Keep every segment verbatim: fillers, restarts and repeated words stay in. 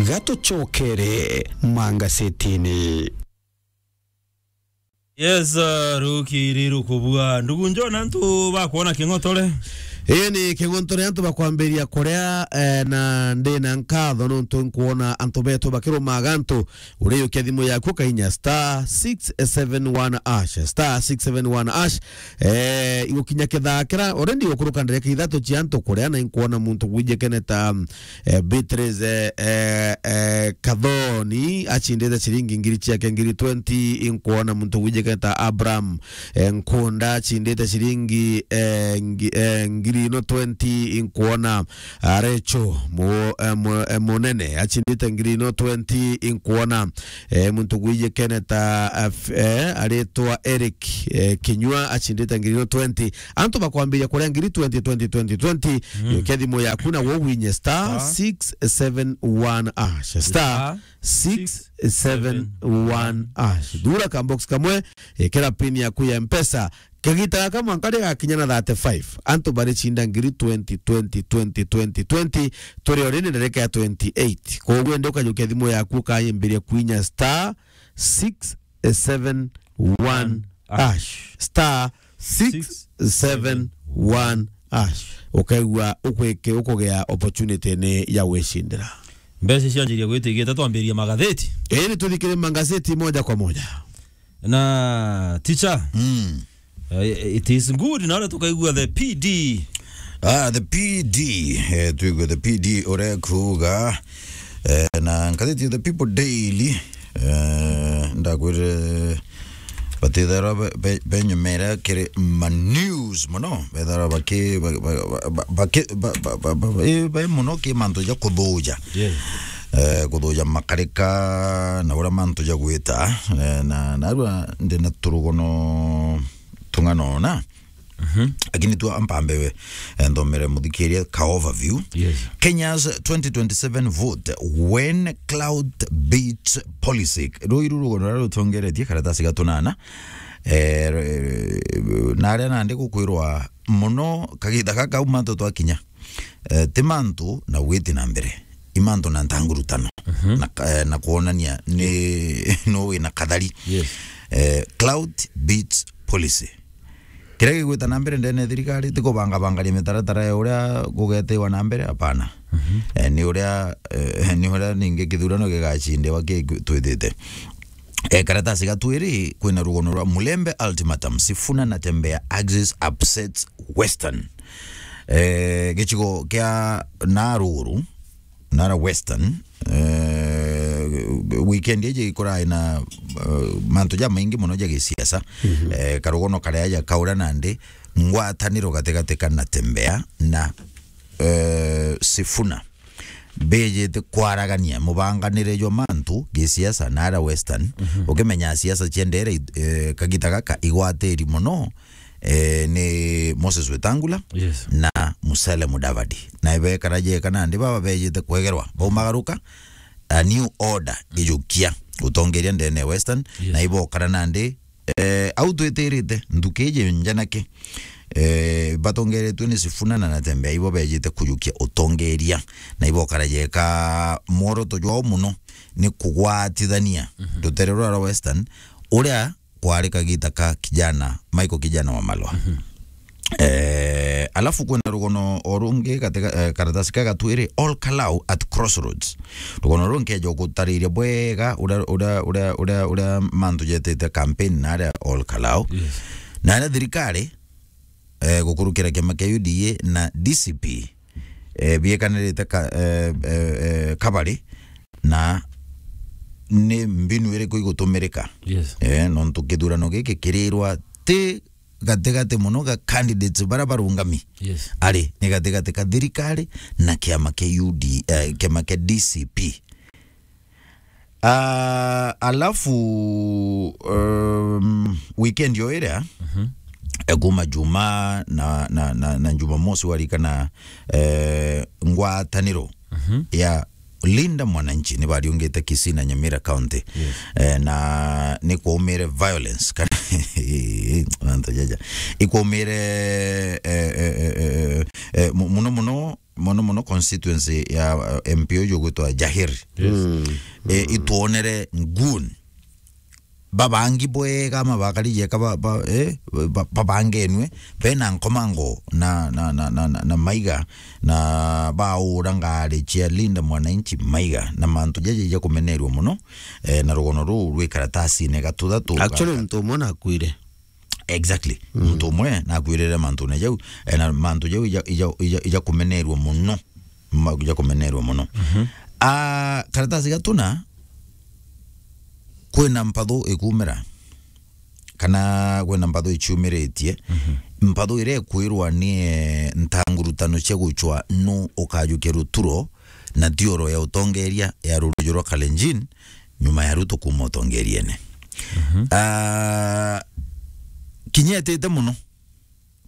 Gatucokere mangasetini. Yes, uh, rukiri rukubua. Ndugu Njona, antu bakwona king'otore? Ii ni king'otore, antu bakwambiria kuria, eh, na ndi na nkatho nontu nkwona antu betu bakirumaga antu. Uriukia thimu yaku ukainya star six seven one hash, star six seven one hash. Eh, igukinya kithaa kira, already gukuruka ndereka ithatu cia antu kuria, na inkwona muntu gwijikene ta, eh, Beatrice, eh, eh, eh, Kathoni, achindite ciringi ngiri ciake ngiri twenty. Inkwona muntu gwijikene ta Abraham, eh, Nkunda, achindite ciringi, eh, ngi-, eh, ngiri ino twenty. Inkwona, ah, Recho, mu-, eh, mu-, eh, Munene, achindite ngiri ino twenty. Inkwona, eh, muntu gwijikene ta, eh, f-, eh, aritwa Eric, eh, Kinyua, achindite ngiri ino twenty. Antu bakwambiria kuria ngiri twenty, twenty, twenty, twenty. Mm. Yukia thimu yaku na wo winye star six seven one hash. Star six seven one hash. Thura ka box kamwe, ikira pin yaku ya Mpesa. Kagita gaka mwanka rigakinya na thirty-five, antu baricinda ngiri twenty, twenty, twenty, twenty, twenty, turi o rindi ndereka ya twenty-eight. Koguo ende ukajukia thimu yaku ukayimbiria kwinya star six seven one hash. Star six seven one hash. Ukaigua ukwike-, ukugea opportunity ni ya gwicindira. Mbeca cianjiria gwitigita, twambiria magatheti. Ii, ni tuthikire magazeti moja kwa moja. Na, teacher, mm, eh, it is good, na uria tukaigua the P D. Ah, the P D, eh, tuigue the P D uria kuuga, eh, na ngatheti ya The People Daily, eh, ndakwire batithara be, be, benyumera kiri ma news mono, bethara baki, ba, ba, ba, ba, baki, ba, ba, ba, ba, ba, eh, be mono ki mantu ja kuthuja. Yes. Eh, kuthuja makarika na uria mantu ja gwita, eh, na, narua ndina turugono tung'ana ona. Mhm. Lakini tu ampambe we, eh, nthomere muthikiria ka overview. Yes. Kenya's twenty twenty-seven vote, when clout beats policy. Ruu iru rugono ruria rutongeretie karatasi ga tunana. Eh, re-, na aria nandi gukwirwa mono kagita gaka kau mantu twakinya. Eh, ti mantu na gwiti na mbere. I mantu na ntangurutano. Mhm. Na ka-, eh, na kwonania ni, no wina kathari. Yes. Eh, clout beats policy. Kiria gigwita na mbere ndene ya thirikari ti kubangabangania mitaratara ya uria gugetiwa na mbere, hapana. Mhm. Eh, ni uria, eh, ni uria ningi kithurano gigacindiwa ki-, twithite. Eh, karatasi ga twiri, kwina rugono rwa Mulembe ultimatum, Sifuna na Tembea axis upsets Western. Eh, gicigo kia Naruru, Nara Western, eh, weekend iji ikurai na, eh, mantu jamaingi mono ja gisiasa. Mhm. Eh, karugono karia ja kaura nandi ngwataniro gatigati ka Natembeya na, eh, Sifuna. Bijite kwaragania mubanganire jwa mantu gisiasa nara Western. Mhm. Ukimenya siasa cia ndere, eh, kagita gaka igwatiri mono, eh, ni Moses Wetangula, yes, na Musalia Mudavadi. Na ibekara jeka nandi baba bejite kwegerwa, baumagaruka, a new order ijukia utongeria ndene ya Western, yes, na ibokara nandi, eh, au twitirite, nthuki iji njanake, eh, batongeretue ni Sifuna na Natembeya, ibo bejite kujukia utongeria, na ibokara jeka mworoto jwao mono ni kugwatithania, mhm, rutere rwa Western, uria kwari kagita ka kijana, Michael kijana Wamalwa. Mhm. Eh, alafu kwina rugono o rungi katika, eh, karatasi ka gatwiri, Ol Kalou at Crossroads. Rugono ruu nkeja gutariria bwega uria, uria, uria, uria, uria mantu jetite campaign na aria Ol Kalou. Yes. Na aria thirikari, eh, gukurukira kiama kia U D A na D C P, eh, biekanirite ka-, eh, eh, eh, kabari, na ni mbinu iriku igutumirika? Yes. Eh, nontu kithurano giki kirirwa ti gatigati mono ga candidates bara barungami. Yes. Ari, ni gatigati ka thirikari na kiama kia U D, eh, kiama kia D C P. Ah, alafu, um, weekend yo iria, mhm, eh, kuma Juma na, na, na, na Jumamosi warikana, eh, ngwataniro, mhm, ya Linda Mwananchi ni bariungite Kisii na Nyamira County. Yes. Eh, na ni kwaumire violence. Kana, mantu jaja. Ikwaumire, eh, eh, eh, eh, eh, mu-, muno muno, muno muno constituency ya, eh, M P uju gwitwa Jahir. Yes. Mm. Eh, itwonere ngun babangi bwega, ama bakari jeka ba, ba, eh, ba, babangenwe, bena nkomango na, na, na, na, na, na maiga, na baura ngari cia Linda Mwananchi maiga, na mantu jaja ja kumenerwa muno, eh, na rugono ruu rwi karatasine gatuthatu. Actually, ga- muntu umwe nakuire. Exactly. Mm. Muntu umwe nakwirire mantune jau, eh, na mantu jau ija, ija, ija, ija kumenerwa muno. Ma-, ija kumenerwa muno. Mhm. Ah, karatasi gatuna, kwina mpathu ikumira, kana kwina mpathu ichiumiritie. Mhm. Mpathu iria ikwirwa ni, eh, ntangurutano cia guchwa nu ukajukia ruturo na thioro ya utongeria ya rurujo rwa Kalenjin, nyuma ya Ruto kuuma utongeriene. Mhm. Ah, kinya etite muno,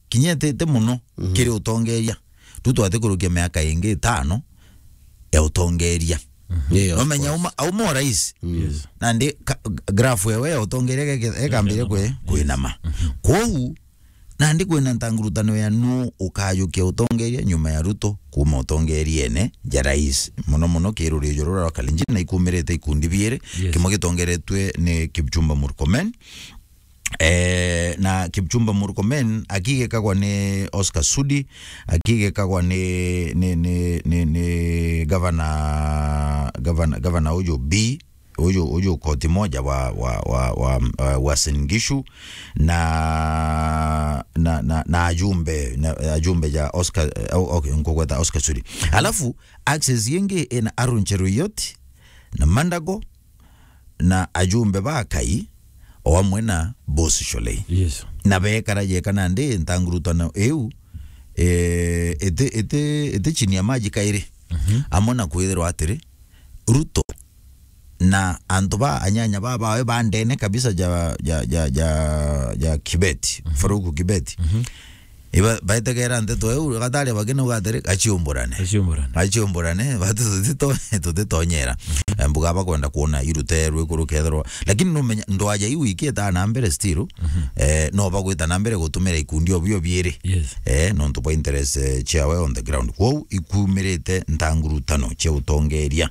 kinya etite muno, mhm, kiri utongeria. Ruto atikurukia miaka ingi itano ya utongeria. Mhm. Yeah, of course. Nomenya auma, auma o rais. Mm. Yes. Nandi ka-, graph ewe ya utongeria geke-, ekambire kwe-, kwinama. Mhm. Kwou, nandi kwina ntangurutano ya nu ukajukia utongeria nyuma ya Ruto kuuma utongeriene ja rais. Muno muno kirurijo rura rwa Kalenjin na ikumirite ikundi biiri, yes, kimwe gitongeretwe ni Kipchumba Murkomen, eh, na Kipchumba Murkomen akigekagwa ni Oscar Sudi, akigekagwa ni, ni, ni, ni, ni gavana, gavana, gavana uju B, uju, uju koti moja wa, wa, wa, wa, wa, wa Uasin Gishu, na, na, na, na ajumbe, na ajumbe ja Oscar, eh, o-, okay, nkugweta Oscar Sudi. Alafu, access ingi ina Aaron Cheruiyot, na Mandago, na ajumbe ba Kai, o amwe na Boss Sholei. Yes. Na bekara jeka nandi ntangurutano iu, eh, iti, iti, iti chini ya maji kairi. Mhm. Amwe na kwithirwa atiri, Ruto na antu ba anyanya ba bawe ba ndene kabisa ja, ja, ja, ja, ja Kibeti, mhm, Farouk Kibeti. Mhm. Iba, baitegera nteto eu, gatari bagina ugatiri, gachiumburane. Gachiumburane. Gachiumburane, batu tutito-, tutitonyera. Mhm. Eh, mbuga bakwenda kuona irute rwikuru kethirwa. Lakini numenya, ndwaja iu ikieta na mbere still, mhm, eh, no bagwita na mbere gutumira ikundi obio biiri. Yes. Eh, nontu bwa interest, eh, ciawe on the ground. Kwou ikumirite ntangurutano cia utongeria.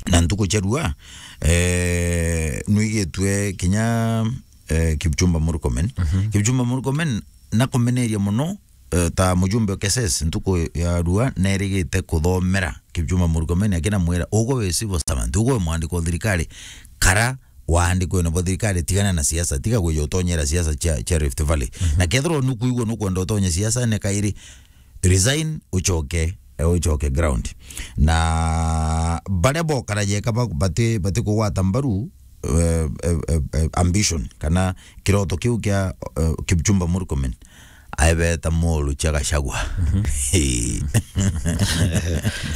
Na ntuku cia rua, eh, nwigitue kinya, eh, Kipchumba Murkomen. Mhm. Kipchumba Murkomen nakumeneria muno, eh, ta mujumbe wa Keses, ntuku ya rua nerigite kuthomera Kipchumba Murkomen, akina mwira, "Ugwe wi civil servant, ugwe wi mwandiki wa thirikari, kara waandikwe na bo thirikari, tigana na siasa, tiga gwija utonyera siasa cia, cia Rift Valley." Mhm. Na kethirwa nukuigua nukwenda utonye siasa, ne kairi, resign, uchoke, eh, uchoke ground. Na baria bokara jeka ba-, bati, bati kugwata mbaru, eh, eh, eh, eh, ambition, kana kiroto kiu kia, eh, Kipchumba Murkomen, aebeta moru cia Gachagua. Mhm.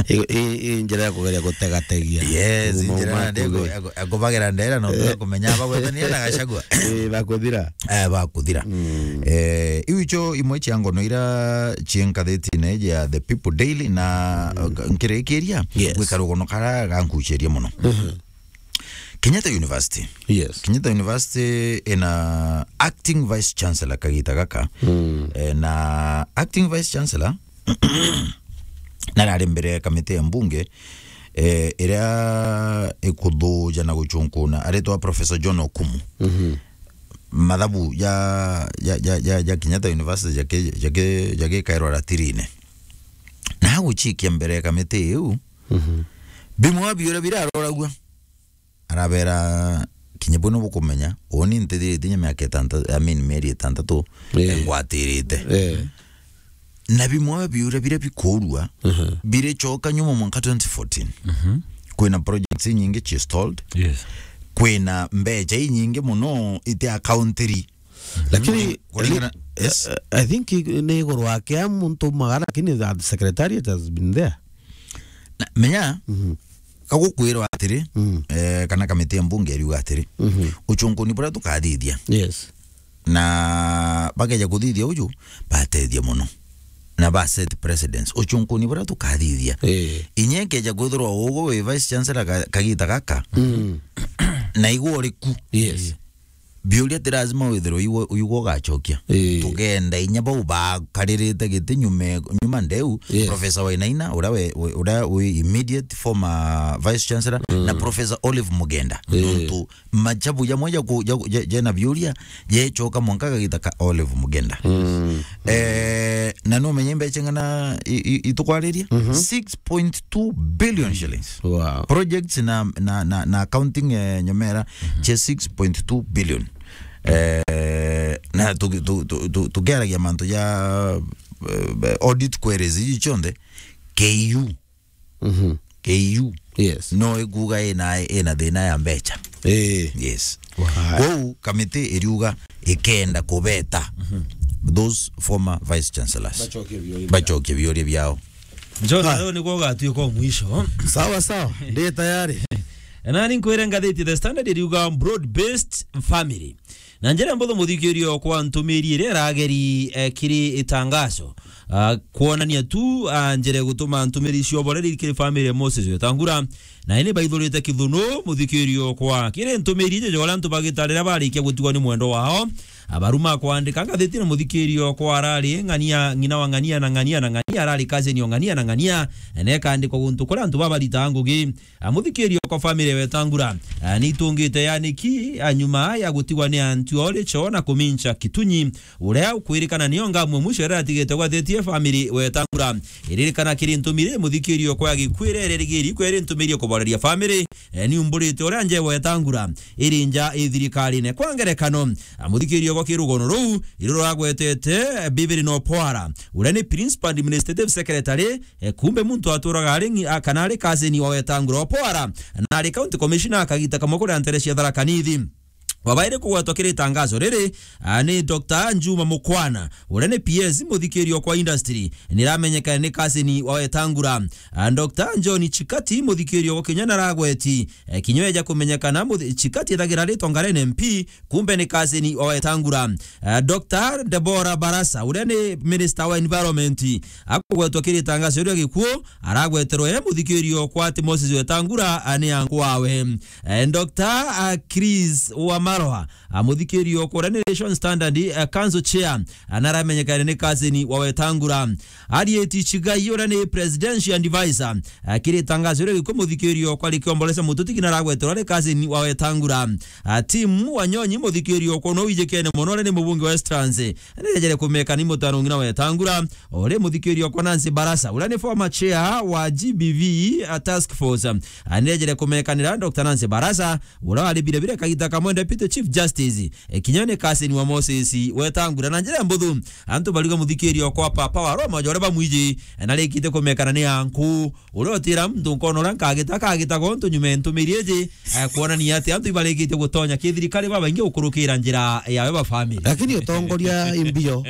I, i, i njira ya kugeria gutegategia. Yes, kuma njira ya matu, ya ku-, ya kubagira ndera, no, eh, tuga kumenya bagwetania na Gachagua. Eh, bakuthira. Eh, bakuthira. Mm. Eh, iu icho imwe cia ngono ira cia nkathitine ya The People Daily na, mhm, nkirikiria, yes, gwika rugono kara gankucheria muno. Mhm. Kenyatta University. Yes. Kenyatta University ina acting vice chancellor kagita gaka. Mm. Eh, na acting vice chancellor narari mbere ya kamiti ya mbunge, eh, iria ikuthuja na guchunkuna, aritwa Professor John Okumu. Mhm. Mathabu ja, ja, ja, ja, ja Kenyatta University jaki-, jaki-, jagikairwa ratirine. Na aguchikia mbere ya kamiti iu, mhm, bimwe bia biuria biraroragua. Arabera, "Kinya bwino bukumenya, uuni ntithirite inya miaka itantatu, I mean, mieri itantatu, eh, ngwatirite." Eh. Na bimwe biuria biria bikurua, mhm, birichoka nyuma mwanka twenty fourteen. Mhm. Kwina projects inyingi ci stalled. Yes. Kwina mbecha inyingi muno iti accountiri. Lakini, kuringana, li-, yes, I, I think ni iguru wake a muntu magara, lakini the secretariat has been there. Na, menya, mhm, kagukwirwa atiri, mm, eh, kana kamiti ya mbunge iriuga atiri, mhm, uchunkuni buria tukathithia. Yes. Na bakeja kuthithia uju, batethia muno. na ba set precedence. Ucunkuni buria tukathithia. Eh. Inya ikeja kwithirwa ugu wi vice chancellor ka-, kagita gaka, Mm. na igwe uri ku. Yes. Biuria ti lazima withirwe igwe, igwe ugacokia. Eh. Tugenda inya bau bakaririte giti nyuma, nyuma ndeu, Yes. Professor Wainaina, uria we, we, uria wi immediate former vice chancellor, Mm. na Professor Olive Mugenda. Eh. Nontu machabu jamwe ja ku-, ja ku-, ja-, jena biuria, jechoka mwanka gagita ka Olive Mugenda. Mm. Eh, na no menye mbecha ng'ana i-, i-, itukwariria? Mhm. Six point two billion shillings. Wow. Projects na, na, na, na accounting, eh, nyomera, Mhm. che six point two billion. Eh, na tu-, tu-, tu-, tu-, tukiaragia mantu ja, eh, audit queries iji chionthe, K U. Mhm. K U. Yes. No ikuga ina, ina thina ya mbecha. Eh. Yes. Wow. Kwou kamiti iriuga ikenda kubeta Mhm. those former vice chancellors. Bacokie biuria biao. Bacokie biuria biao. John, Ah. leo niguo ugatuika o mwisho. Sawa, sawa. Ndi tayari. Nani nkwire ngathiti The Standard iriuga broad-based family. Na njira mbuthu muthikirio kwa ntumiri iria irageri, eh, kiri itangazo, ah, kwonania tu, ah, njira gutuma ntumiri cio boreri kiri family ya Moses Wetangula. Na ini baithurite kithunu muthikirio kwa kiri ntumiri ije jora antu bagita riria barikia gutigwa ni mwendo wao. Abaruma kwandika ngathiti na muthikirio kwa arari ng'ania, ng'ina wa ng'ania na ng'ania na ng'ania, arari cousin o ng'ania na ng'ania. Na ikandikwa guntu kuria antu babaritaga ngugi. A, muthikirio kwa family ya Wetangula, a, ni itungite yani ki, a, nyuma ya gutigwa ni antu o richo na kumincha Kitunyi, uria ukwirikana nio ngamwe mwisho iria atigite gwathetie family Wetangula. Iririkana kiri ntumiri muthikirio kwa gikwire ririgiri kwere ntumiri kuboreria family, e, ni umburite uria nje Wetangula iri nja i thirikarine. Kwa ngerekano, a, muthikirio kwa kirugono ruu, iruragwetete, e, Bibiri no Pwara, uria ni Principal Administrative Secretary, E, kumbe muntu aturaga ari ngi-, a, kana ari cousin wa Wetangula Opwara, na ari County Commissioner akagita kamwe kuria ntere cia Tharaka Nithi. Wabaire kugwetwa kiri itangazo riri, a, ni Doctor Njuma Mukwana, uria ni P S muthikirio kwa industry, niramenyekana ni cousin wa Wetangula. A, Doctor John Chikati muthikirio gwa Kenya naragweti, e, kinya eja kumenyekana muthi-, Chikati ethagira ritwa ngara N M P, kumbe ni cousin wa Wetangula. Eh, Doctor Deborah Barasa, uria ni Minister wa Environment, akugwetwa kiri itangazo ria gikuo, aragweterwa e muthikirio kwa ati Moses Wetangula, a, ni anku wawe. Eh, Doctor, a, Chris Wamaroa, a, muthikirio kwa uria ni Relations Standard, a, Council Chair, a, naramenyekane ni cousin wa Wetangula. Arieti Chigai, uria ni Presidential Advisor, a, kiri itangazo ria gikuo muthikirio kwa rikiombolesa mututi kina aragweterwa ari cousin wa Wetangula. A, Tim Wanyonyi, muthikirio kwa uno wijikene mono, uria ni mubunge wa Westlands, nirejere kumeka ni mutano ng'ina Wetangula, uri muthikirio kwa Nancy Barasa, uria ni former chair wa G B V, a, task force. A, nirejere kumekanira Doctor Nancy Barasa, uria wari bire bire kagita kamwe Deputy Chief Justice, e, kinya ni cousin wa Moses Wetangula. Na njira mbuthu, antu bariuga muthikirio kwa papa wa Roma, uria bamwiji, e, narikite kumekana ni anku. Uria utira muntu nkona uria nkagita, kagita gontu nyuma ya ntumiri iji, eh, kwonania ati antu ibarikitie gutonya kithirikari babaingi gukurukira njira yawe ba family. Lakini utongoria imbio.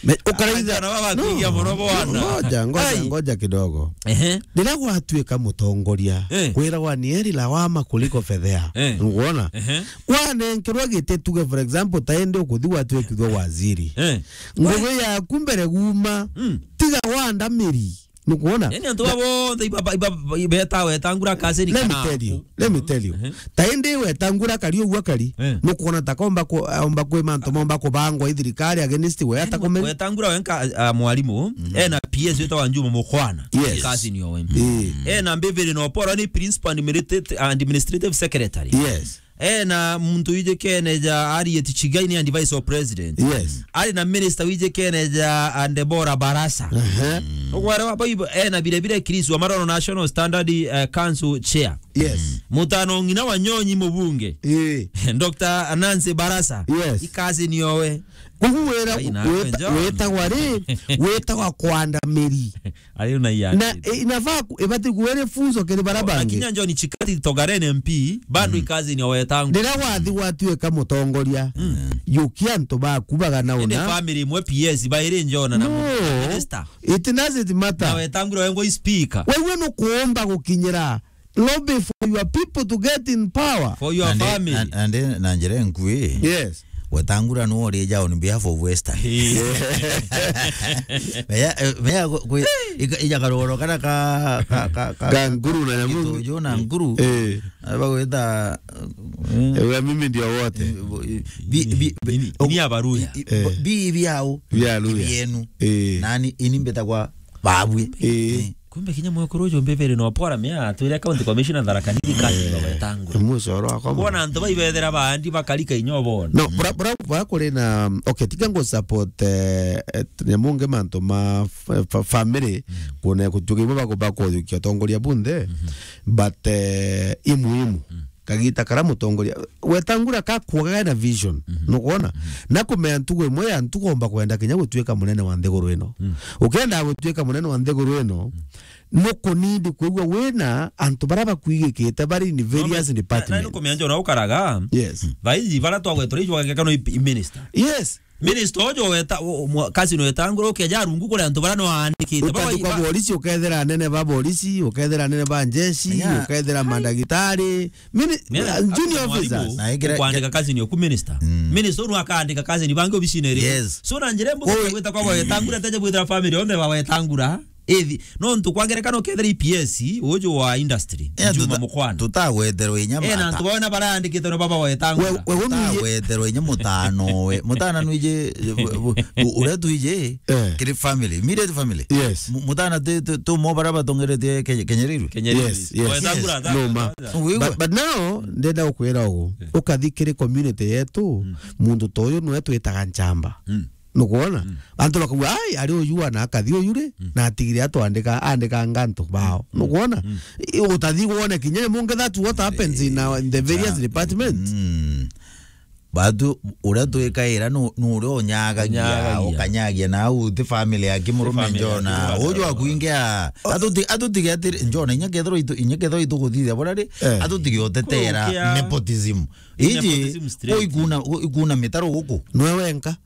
Me-, ukaraitha Anjana baba No, kuigia mono bwana. Ngoja, ngoja, Ai. ngoja kidogo. Ehe. Riria gwatuika mutongoria, Eh. kwiragwa ni eri lawama kuliko fedhea. Eh. Nguona? Ehe. Wanenkerwa giti tuge, for example, ta indi ukuthi gwatuikithwa waziri. Eh. Ngugi yaku mbere guma, Mm. tiga wandamiri. Nukwona? Yani antu abo bonthe iba, iba, iba, ibeta Wetangula cousin Let me kana tell you. Let me tell you. Mhm. Ta indi Wetangula kari uguo kari. Eh. Nukwona ta komba ku, omba kwi mantu momba kubangwa i thirikari against we Yani atakumenya. Wetangula wenka, a, a, mwalimu, Mhm. ena P S wetagwa Njuma Mukwana. Yes. Cousin owe. Eh. Ena Mbiviri no Poro ni principal administrative, administrative secretary. Yes. Ena muntu wijikene ja Harriet Chigai ni and vice president. Yes. Ari na minister wijikene ja, a, Deborah Barasa. Ehe. Ugwara wa baibo, ena bire bire Chris Wamarono National Standard, eh, Council Chair. Yes. Mutano ng'ina wa Nyonyi mubunge. Eh. Doctor Nancy Barasa. Yes. I cousin owe. Kogu wira Ai, nawe wita-, John. witagwa ri, witagwa kwandamiri. Ari una iya. Na, eh, inafaa ku-, ibati kuwa ri funzo kiri bara bangi. Akinya John Chikati Togaren M P, bado Mm. i cousin wa Wetangula. Riria wathi gwatuika mutongoria, Mm. yukia antu baku bagana Indi una. family imwe P S bairi njona na No. mu-, minister. It doesn't matter. Na Wetangula wengwa i speaker. Wewe nukuomba gukinyira lobby for your people to get in power. For your Na ndi-, family. na, na ndi-, na njira enkui. Yes. Wetangula no ri ja on behalf of Western. Meya, eh, meya kwi, ija karoro kana ka, ka, ka, ka, Ka nguru na nyamu. Kitojo na nguru. Eh. Bagwita, eh, Ewe mimi ndio wote. Bi, bi, bi, Ini, ini abaruya. I, i, Eh. bi, bi au. Bi aruya. Bienu. Eh. Nani ini mbita kwa babwe. Eh. Eh. Kumbe kinya mwekuru uju mbebere no pora mea atwire county commissioner Tharaka Nithi kazi bawetangwa. Mucoro wakwa. Kuona antu baibethera baandi bakarika inyo bona. No, bra, bra, bra kuri na, okay, tiga ngo support, eh, eh, nyamu nge mantu ma f-, f-, family, kuona kutuge ibo bako bakothukia utongoria bunthe, but, eh, i muhimu. Kagita kara mutongoria, wetangura ka kuogaga na vision, nukwona? Na kumea ntugo imwe ya ntugo omba kwenda kinya gutuika munene wa nthiguru ino. Ukenda gutuika munene wa nthiguru ino, nukunidi kwigua wina antu bara bakwigikite bari in various departments. Na nukumea njo na ukaraga. Yes. Thaithi bara twagwetore ijwageka no i, i minister. Yes. Minister ojo weta, o, o, mwa-, kazi no wetangura ukeja rungu kuri antu bara no aandikite. Baba Utati kwa ba- borisi, ukethira anene ba borisi, ukethira anene ba njeshi, Yeah. ukethira mandagitari, mini-, Mira, uh, junior mwalimu, officers. Na ikira- kwandika kazi ni oku minister. Minister unu akaandika kazi ni bangi obisine ri. Yes. So na njira mbu Oi. Gwita kwa wetangura teje gwita family onde ba wetangura. Ithi, no ntu kwa ngerekano kethira E P S, uju wa industry, Eh, Juma tuta-, Mukwana. Tutagweterwa inya Eh, na mata. Antu bawe na barandikite no baba wetangura. We, we, we, Tutagweterwa inya mutano we. Mutana nwije, u-, u-, uria twije, Eh. kiri family, immediate family. Yes. Mu-, mutana ti, ti, tu mo bara batongerete Kenya, Kenya Railway. Kenya Railway. Yes, yes. Wetangura, Yes. Noma. Wigwe? But, but now, ndenda gukwira ugu. Eh. Ukathi kiri community yetu, muntu ta uyu nwe twitaga nchamba. Nukwona? Antu bakauga, "Ai, ari uyu ana akathi uyu ri, na atigire atwandika, andika ngantu bao." Nukwona? I, utathi wone kinya munge that what happens in our, in the various departments. Batu, uria twikaira nu, nu uria unyagagia, Unyagagia. Ukanyagia na au ti family ya kimurume Family ya Njona. Kimurume. Uju akuingia, atuti-, atutige atiri, Njona, inya kethirwa itu, inya kethirwa ituguthithia bora ri, Eh. Atutige utetera Kurukia. Nepotism. Iji, Nepotism straight. Uikuna, uikuna mitaro guku. Nwe wenka.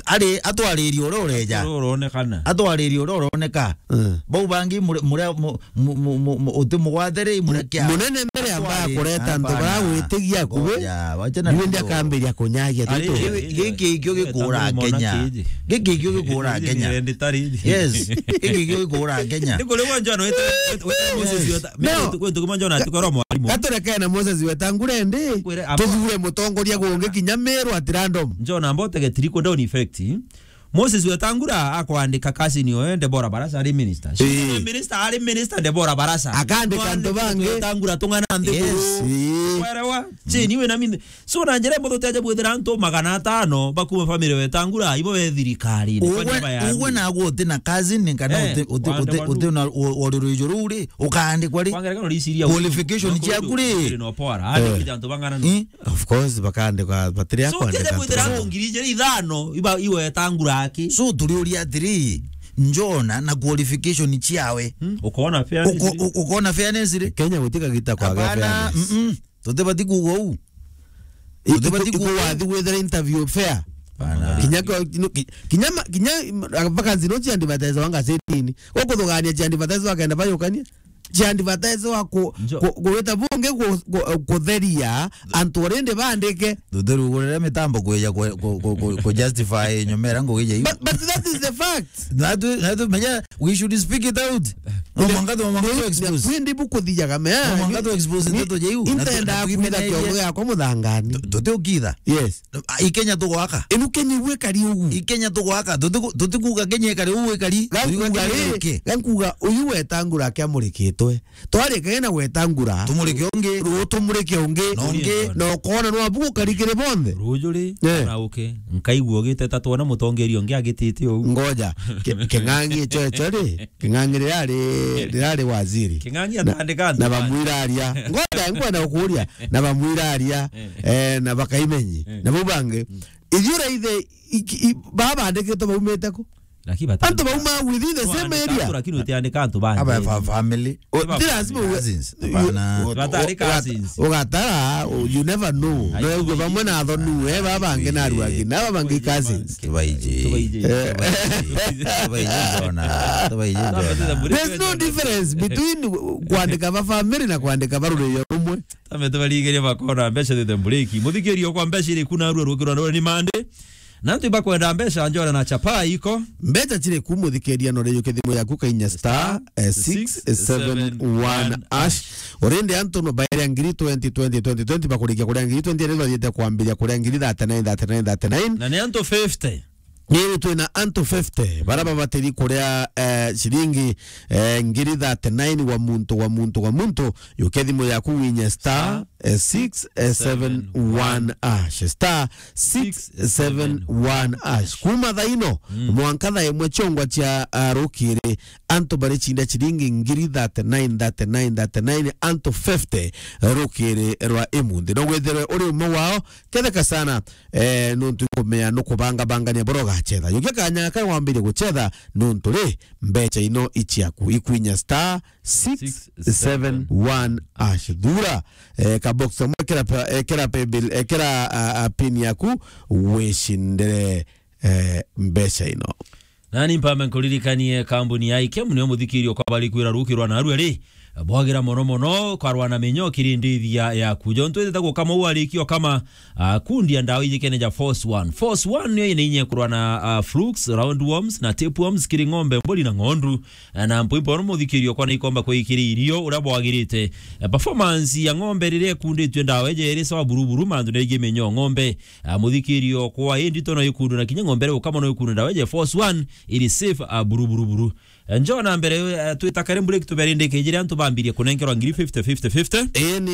Ari, atwaririe uria ureja. Uria uronekana. Atwaririe uria uroneka. Mm. Bau bangi muri, muri, mu-, mu-, mu-, mu-, mu-, uti mugwate ri, muri kia. Munene mbere amba Atwari-, kureta antu hapana. Bara gwitigia akubi. Ngoja, wacha na Ndio ndio. Akambiria kunyagia Ari, tu. Giki, giki ikio gikura Kenya. Giki ikio gikura Kenya. Yes. Giki ikio gikura Kenya. Ni kuri wanja no wete, wete, wete Moses Yes. Weta. No. Mimi kwetu kama Njona atukoro mwalimu. Gaturekene Moses Wetangula ndi. Kwere aba- Tuthure mutongoria gungi kinya Meru at random. Njona mbote getiri ko down effect. Moses Wetangula akwandika kasini oyo Deborah Barasa ari minister. Ii. Minister ari minister Deborah Barasa. Akandika antu bangi. Wetangula tung'ana nthi Yes, guru. Ii. Kwerewa? Chini we na minde. So na njira imwe tuteje bwithira antu magana atano bakuma family Wetangula ibo be thirikari. Kwani Ugwe, aba ya ugwe nani? Nagwe uti na cousin kana Eh, uti, uti, wande uti, wandu. Uti na o-, oriro ijuru ri, ukaandikwa ri? Kwa ngerekano riciria Qualification ciaku ri? Andikite antu bang'ana no. Eh? Of course, bakaandikwa, batiri So, akwandika uteje bwithira antu. Antu ngiri ijiri ithano, iba, iwe Wetangula aki. So, turi uria atiri, Njona na qualification ciawe. Hmm, ukona fairness Uko-, ri? U-, ukona fairness ri? Kenya gutika gita kwa Hapana, fairness. Mm-mm. Tutibati kuuga uu. I-, Tutibati iku-, kuuga uu. Iku wathi gwithira interview fair. Bana. Kinya kwa, no, ki-, kinya ma-, kinya ma-, vacancy no cia advertise wa ngazetini. Gukuthugania cia advertise wa kenda bayukania. Cia advertise wa ku-, Njo- ku-, kuwita bungi ku-, ku-, kutheria antu already bandike. Tutirugurire mitambo kwija ku-, ku-, ku-, ku-, ku justify nyomera ngugi ja iu. But, but that is the fact. Natu, natu menya, we should speak it out. No mwanka tu, mwanka tu expose. Kwindi bukuthijaga mea. No mwanka tu expose ndeto ja iu. Intenda kwitha kiongo giakwa muthangani. Tutiukitha. Yes. I Kenya tugwaka. Inu Kenya igwe kari ugu. I Kenya tugwaka. Tutiku-, tutikuga Kenya ikari ugu ikari. Tutiuga Kenya iri. Gankuga uyu Wetangula akiamurikitwe. Twarikage na Wetangula. Tumurike ungi. Ru-, tumurike ungi. Na ungi. Na ukona no abu gukarikire bonthe. Ruju ri, Eh. Kana uke. Nkaigua ugiteta twona mutongeria ungi agitite uu. Ngoja. Ki-, King'ang'i icho, icho ri. King'ang'i rirari, rirari waziri. King'ang'i Na, atandika antu na bandi. Bamwiraria. Ngoja, nkwenda gukuria. Na bamwiraria. Eh. Eh, na bakaimenyi. Eh. Na bau bangi. Mm. Ithiura ithe, iki-, i-, baba bandikitwe baumite ku? Lakini bata- Antu bauma within the same area. Lakini utiandika antu bangi. Aba fa-, family. O, ti lazima uwe-, cousins. Hapana. Batari cousins. Ugatara, o, you never know. No ugo bamwe na athonu, eh, baba bangi na aruangi, na baba bangi cousins. Tubaiji. Tubaiji. Eh. Tubaiji, tubaiji, tubaiji, Jona. Tubaiji, Jona. There's no difference between kwandika ba family na kwandika ba rurio rumwe. Tame tubaringirie bakona mbeca thithe mburiki. Muthikirio kwa mbeca iri kuna rua rukirwa ni mande. Na antu ibakwenda mbeca, njora na chapa iko. Mbeca ciri ku muthikiria no riu kithimu yaku kainya star, eh, six seven one hash. Urindi antu no baeria ngiri twenty, twenty, twenty, twenty, bakurikia kuria ngiri twenty, iri bathiite kwambiria kuria ngiri thirty-nine, thirty-nine, thirty-nine. Na ni antu fifty. Ni twina antu fifty, bara babatiri kuria, eh, ciringi, eh, ngiri thirty-nine wa muntu, wa muntu, wa muntu. Yuke thimu yaku winye star, eh, six seven one hash, star six seven one hash. Kuma thaa ino, mm, mwanka thaa imwe ciongwa cia, ah, rukiri, antu bari cinda ciringi ngiri thirty-nine, thirty-nine, thirty-nine, antu fifty rukiri rwa imunthi. No withirwe uri umwe wao, ketheka sana, eh, nuntu ikumea nukubangabangania boro gachetha. Yukia kanya ka wambirie guchetha, nuntu ri, mbeca ino iciaku, ikwinya star six seven one hash. Thura, eh, ka box kamwe, ekera pa-, ekera paybill, ekera, a, a, pin yaku, wicindire, eh, mbeca ino. Nani mpambe nkuririkanie kambuni ya Ikem, nio muthikirio kwa bari kwira rukirwa na arua ri, bwagira mono mono, kwarwa na menyo kiri ndithia yaku. Jontu itete gukama u arikio kama, ah, kundia ndawa ijikene ja Force One. Force One nio ina inya kurwa na, ah, flukes, roundworms na tapeworms kiri ng'ombe, mburi na ng'ondu. Ah, na mpuimpo no muthikirio kwa na ikomba kwa ikiri irio uria bwagirite. Eh, performance ya ng'ombe riria ikunditwe ndawa ije iri sawa buru buru, mantu na igi menyo ng'ombe. Ah, muthikirio kwa indi to no ikundu na kinya ng'ombe ri ukama no ikundu ndawa ije Force One iri safe, ah, buru buru buru. Eh, njo na mbere, eh, twita kare break tuberindike ijiri antu bambirie kunenkerwa ngiri fifty, fifty, fifty. Ii ni